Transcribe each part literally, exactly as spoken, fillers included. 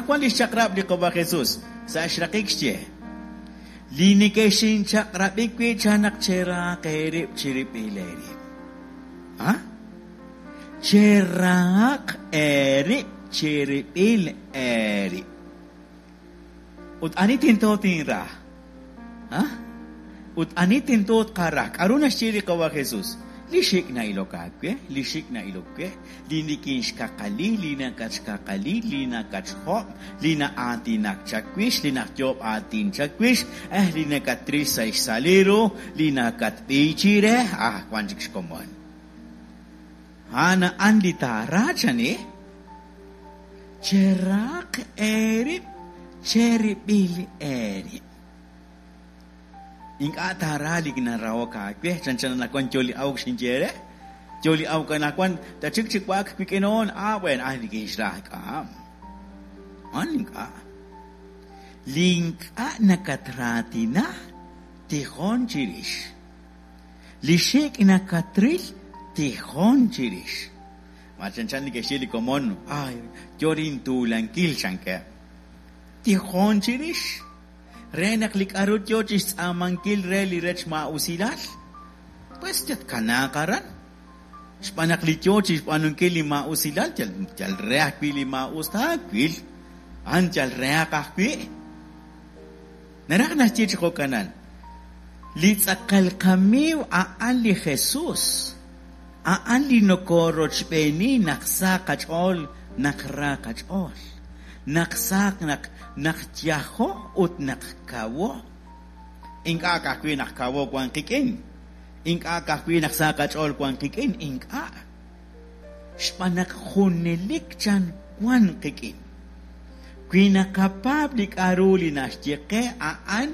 Wan li xchaq'rab' li Qawa' Jesus sa' xraqik xye: li nekexinchaq'rab'i wi' chan naq cherahaq eerib' chirib'il eerib'. A Cherahaq eerib' chirib'il eerib'. Ut ani tento tinra? A Ut ani tento tqara? K'aru naxye li Qawa' Jesus? Li xik' na'ilok aawe, li xik' na'ilok we, li nikinxkaqali, li nakatxkaqali, li nakatxjob', li na'aatinak chawix, li najyoob' aatin chawix, eh, li nakatril sa' xsa' li ru, li nakatb'iy chire, ah, wan chik xkomon. A'an a'an li taara chani. Cherahaq eerib' cherib'il eerib'. Ink'a' taara li narahok aawe, chanchan anaqwan yo li awk xinye re. Yo li awk anaqwan, tachik chi wa'ak wik'in on, ah, bueno, ah, nikinxra k'am. An ink'a'. Li ink'a' nakatraatina, tijon chirix. Li xik' nakatril, tijon chirix. Ma chanchan neke'xye li komon, ay, yo rintuulankil chankeb'. Tijon chirix. Re naq li k'aru yo chi xtz'aamankil re li rech maa'usilal, pues yatkanaaq aran. Xb'aan naq li yo chi xb'aanunkil li maa'usilal, yal yal re ajwi' li maa'us taawil, a'an yal rehaq ajwi'. Naraj naxye chi jo'kanan, li tz'aqal qamiiw a'an li Jesus, a'an li nokorochb'eeni naq sa qach'ool, naq ra qach'ool, naq saq naq naq yajo ut naq kawo. Ink'a' ka'ajwi' naq kawo wan qik'in, ink'a' ka'ajwi' naq sa qach'ool wan qik'in, ink'a'. Xb'aan naq junelik chan wan qik'in. Wi naqapaab' li k'aru li naxye qe a'an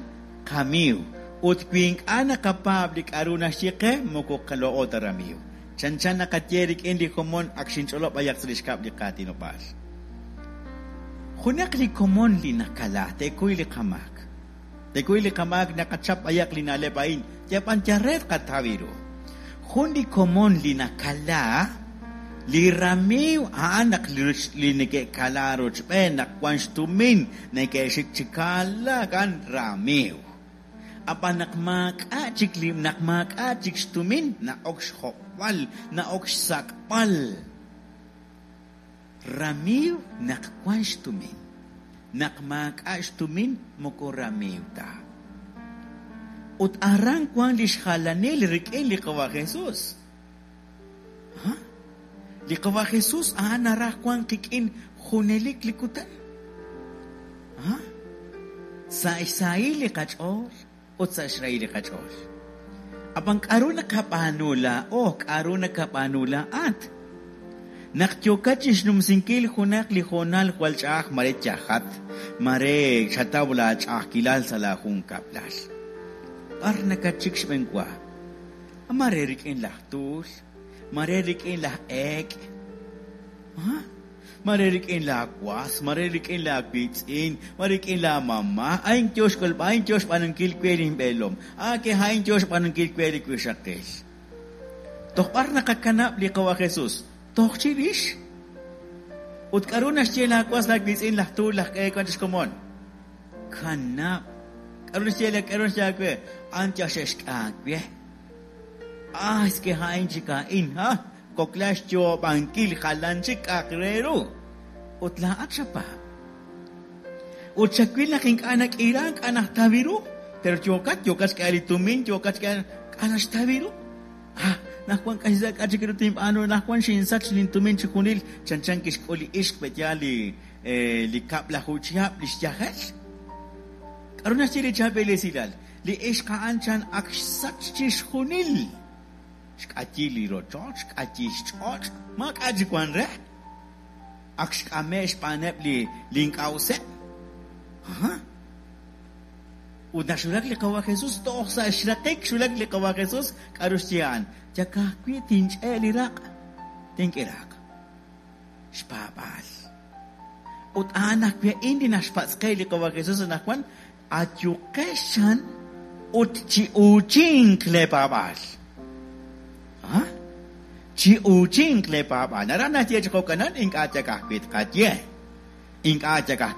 qamiiw, ut wi ink'a' naqapaab' li k'aru naxye qe moko qalo'o ta ramiiw. Chanchan naqaye rik'in li komon ak xinch'olob' b'ayaq sa' li xkab' li qaatinob'aal. Junaq li komon li nakala, tekuy li qamaak. Tekuy li qamaak naqachap b'ayaq li na'leb' a'in, yab'an yaret qataw ru. Jun li komon li nakala, li ramiiw a'an naq li neke'kala rochb'een, naq wan xtumin, neke'xik chi kalaak a'an ramiiw. Ab'an naq maak'a' chik li naq maak'a' chik xtumin, na'ok xjob'al, na'ok xsak'b'al. Ramiiw naq wan xtumin. Naq maak'a' xtumin moko ramiiw ta. Ut aran wan li xjalanil rik'in li Qawa' Jesus. Ha? Li Qawa' Jesus a'an naraj wan qik'in junelik li kutan. Ha? Sa' xsahil li qach'ool ut sa' xrahil li qach'ool. Ab'an k'aru naqab'aanu laa'o, k'aru nakab'aanu laa'at? Naq yokat chi xnumsinkil junaq li hoonal jwal ch'a'aj mare yajat, mare xataw laach'a'ajkilal sa' laajunkab'lal. B'ar nakatxik xb'enwa? Mare rik'in laj tuul, mare rik'in laj eek', ha? Mare rik'in laawas, mare rik'in laawiitz'in, mare rik'in laamama, a'in yo xk'ulb'al, a'in yo xb'aanunkil we linb'eelom, ah, ke a'in yo xb'aanunkil we li wixaqil. Toj b'ar naqakanab' li Qawa' Jesus? Toj chirix. Ut k'aru naxye laawas laawiitz'in laj tuul laj eek' wan chi xkomon? Kanab'. K'aru naxye la k'aru naxye aawe? A'an yal xe'xk'e aawe. Ah, es que a'in chik a'in, ha? Kokla xyoob'ankil jalan chik k'a'aq re ru. Ut laa'at xapaab'. Ut xawil naq ink'a' nak'iira, ink'a' najtaw ru, pero yokat, yokat xk'e li tumin, yokat xk'e k'a' naxtaw ru. Ah, naq wan k'a' k'a' chik ru tinb'aanu, naq wan xinsach lintumin chi junil, chanchan kixk'ul li ixq pe'yaal li eh, li kab'laju chihab' li xyajel. K'aru naxye li chaab'il esilal? Li ixq a'an chan ak xsach chi xjunil. Xk'ayi li rochoch, xk'ayi xch'och', maak'a' chik wan re. Ak xk'ame' xb'aaneb' li li ink'a' useb'. Aha. Ut naq xwulak li Qawa' Jesus, toj sa' xraqik xwulak li Qawa' Jesus, k'aru xye a'an? Yakajwi' tinch'e' li raq', tink'iraq. Xpaab'aal. Ut a'an ajwi' a'in li naxpatz' qe li Qawa' Jesus anaqwan, ayuqex chan ut chi'uuchinq leepaab'aal. Ha? Chi'uuchinq leepaab'aal. Naraj naxye chi jo'kanan, ink'a' yakajwi' tqaye. Ink'a' yakajwi'